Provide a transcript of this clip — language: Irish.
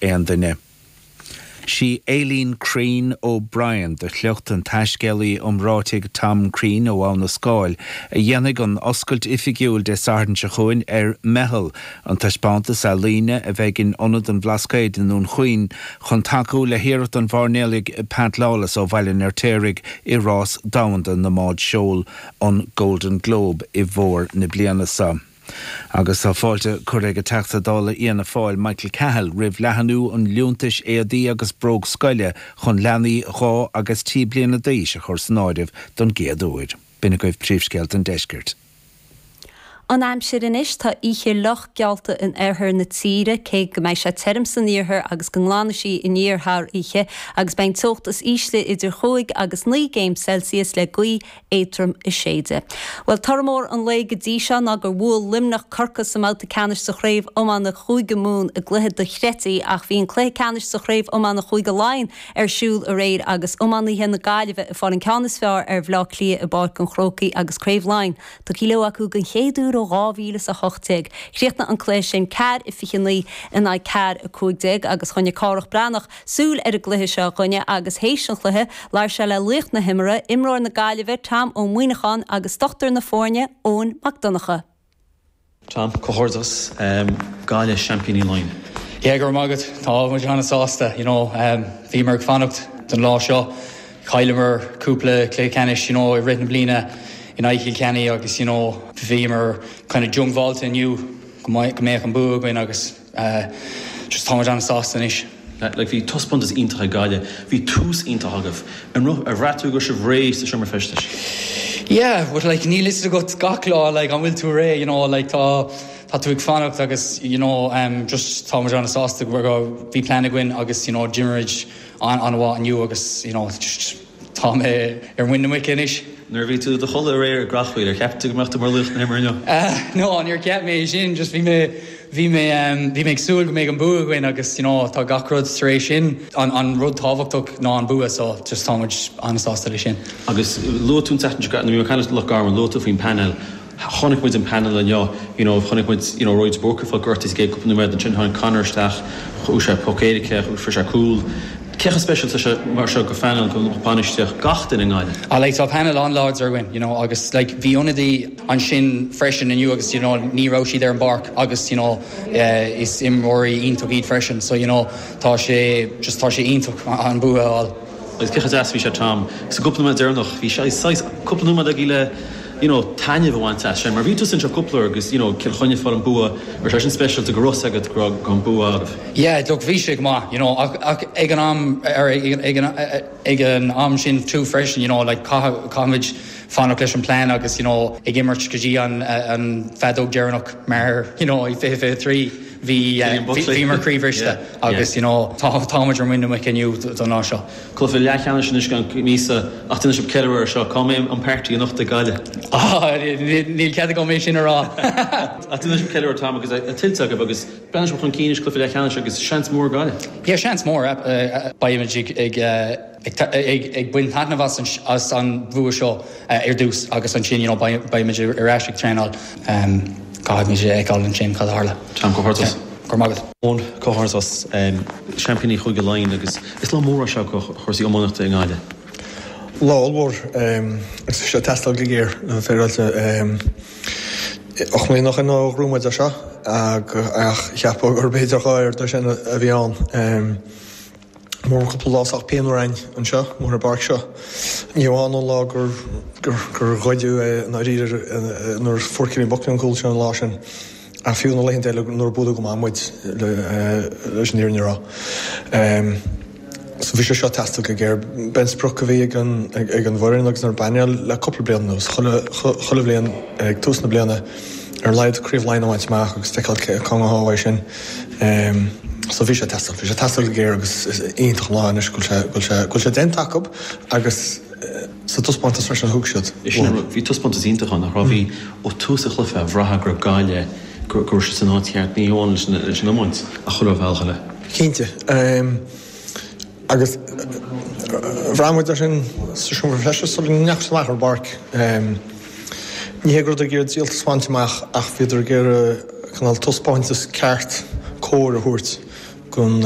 aon duine. Sí Aileen Crean O'Brien, de shliocht an taiscéalaí iomráitigh Tom Crean ó Abha na Scáil, a dhéanfaidh an oscailt oifigiúil Dé Sathairn seo chugainn ar Meitheal, an taispeántas ealaíne a bheidh in Ionad an Bhlascaoid i nDún Chaoin chun tacú le hiarracht an mhairnéalaigh Pat Lawless ó Bhaile an Fheirtéaraigh i rás domhanda na mbád seoil an Golden Globe i bhfómhar na bliana seo. Agus tá fáilte curtha ag an Teachta Dála Fhianna Fáil Michael Cahill roimh leathanú an liúntais éadaí agus bróg scoile chun leanaí 2 agus 3 bliana d'aois a chur san áireamh don gcéad uair. B'in agaibh príomhscéalta an deiscirt. An aimsir anois, tá oíche fhliuch geallta in oirthear na tíre, cé go mbeidh sé tirim san iarthar agus go nglanfaidh sí aniar thar oíche, agus beidh an teocht is ísle idir chúig agus naoi gcéim Celsius le gaoth éadtrom ag séideadh. Bhuel, toradh mór an lae go dtí seo ná gur bhuail Luimneach Corcaigh sa mbabhta ceannais sa chraobh iomána Chúige Mumhan i gcluiche dochreidte ach bhí an cluiche ceannais sa chraobh iomána Chúige Laighean ar siúl aréir agus iománaithe na Gaillimhe ag fáil an ceann is fearr ar Bhleá Cliath i bPáirc an Chrócaigh agus Craobh Laighean tugtha leo acu den chéad uair ó 2018. Chríochnaigh an cluiche sin 4-29 in aghaidh 4-15 agus choinnigh Cárthach Breathnach súil ar an gcluiche seo dhúinne agus théis an chluiche, labhair sé le laoch na himeartha, imreoir na Gaillimhe, Tom Ó Muíneacháin agus dochtúir na foirne, Eoin Mac Donncha. Tom, comhghairdeas, Gaillimh seaimpíní Laighean. Yeah, go raibh maith agat. Tá muid an-sásta, you know. Bhíomar ag fanacht don lá seo. Chailleamar cúpla cluiche ceannais, you know, i rith na bliana in aghaidh Chill Chainnigh agus, you know, bhíomar kind of diongbháilte inniu go mbeadh an bua againn agus, Just tá muid an-sásta anois. Like bhí taispeántas iontach ag Gaillimh, bhí tús iontach agaibh. An raibh, ar bhraith tú go raibh sibh réidh sa seomra feistis? Yeah, but like níl fhios agat gach lá like an bhfuil tú réidh, you know, like tá, tá tú ag fanacht agus you know um just tá muid an-sásta go raibh, bhí plean againn agus you know d'imir muid an-mhaith inniu agus you know just Tá mé ar mhuin na muice anois. Nuair a bhí tú i do chodladh aréir i gCreachmhaoil, ar cheap tú go mbeadh tú mar laoch na himeartha inniu? No, níor cheap mé é sin. Just bhí mé, bhí mé, bhí mé ag súil go mbeadh an bua againn agus you know tá gach rud tar éis sin. An, an rud tábhachtach ná an bua so just tá muid an-sásta leis sin. Agus luaigh tú an tseachtain seo, nuair a bhí mé ag caint le Loch Garman, luaigh tú faoin painéal. Chonaic muid an painéal inniu, you know, chonaic muid, you know, Roy de Búrca ag fáil gortaithe sa gcéad cúpla nóiméad, ansin tháinig Conor isteach, fuair sé poc éirice, fuair sé cúl. Cé chomh speisialta is é mar seo do phainéal, do bhainistíocht, gach duine i nGaillimh? Ah like tá painéal an-láidir againn, you know, agus like bhí ionadaí ansin freisin inniu agus you know ní raibh siad ar an bpáirc agus you know is imreoirí iontach iad freisin so you know tá sé just tá sé iontach an bua a fháil. Agus cé chomh deas a bhí sé Tom, sa gcúpla nóiméad deireanach, bhí sé saghas cúpla nóiméad agaibh le you know taitneamh a bhaint as sin mar bhí tusa anseo cúpla uair agus you know Cill Chainnigh ag fáil an bua, raibh sé sin speisialta go raibh fhios agat go raibh an bua agaibh. Yeah look bhí sé go maith you know ach ach ag an am ar ag an ag an am sin too freisin you know like caithfidh caithfimid fanacht leis an plean agus you know ag imirt go dtí an an feadóg deireanach mar you know i 2023 Bhí, bhíomar croíbhriste agus you know tá, tá muid ar muin na muice inniu don lá seo. Cluiche leathcheannais anois i gceann míosa ach déanfaidh sibh ceiliúradh air seo. Cá mbeidh an party anocht ag Gaillimh? Ah, níl cead agam é sin a rá. Ach déanfaidh sibh ceiliúradh Tom agus é tuillte agaibh agus breathnaíonn sibh chun cinn anois cluiche leathcheannais agus seans mór ag Gaillimh. Yeah, seans mór. Beidh muid ag, ag, ag baint taitneamh as an bhua seo ar dtús agus ansin you know beidh muid ar ais ag traenáil. Caithfidh muid a fheiceáil ansin cad a tharla. Tom, comhghairdeas. Go raibh maith agat. Eoin, comhghairdeas. Seaimpíní Chúige Laighean agus is lá mór é seo do chúrsaí iománaíochta i nGaillimh. Lá ollmhór agus bhí sé ag teastáil go géar, le bheith féaráilte. 8 mbliana ó shin ó ghnóthaigh muid é seo ach cheapfá gurb idir dhá oiread sin a bhí ann. Mór cúpla lá sách pianmhar againn anseo, amuigh ar an bpáirc seo. Ní hamháin an lá gur gur ghoideadh é i ndáiríre nuair a fuair Cillian Buckley an cúl sin an lá sin, ach fiú na laethanta eile nuair a buaileadh go maith muid leis an fhírinne a rá. So bhí sé seo ag teastáil go géar. B'é an sprioc a bhí ag an ag an bhfoireann agus ar an bpainéal le cúpla bliain anuas, chuile chuile bhliain ag tús na bliana ar a laghad Craobh Laighean a bhaint amach agus feiceáil cá ngabhfá uaidh sin. So bhí sé ag teastáil, bhí sé ag teastáil go géar agus is iontach an lá anois go bhfuil sé, go bhfuil sé, go bhfuil sé déanta acu agus sa taispeántas freisin a thug siad. Sin an rud, bhí taispeántas iontach ann, nach raibh? Bhí, ó tús an chluiche, bhraithfeá go raibh Gaillimh, go raibh siad san áit cheart, ní hamháin leis an, leis an iomáint ach chuile bhealach eile. Cinnte. Agus bhraith muid é sin sa seomra feistis sula ndeachaigh siad amach ar an bpáirc. Ní hé go rabhadar ag iarraidh díoltas a bhaint amach ach bhíodar ag iarraidh cineál taispeántas ceart cóir a thabhairt don.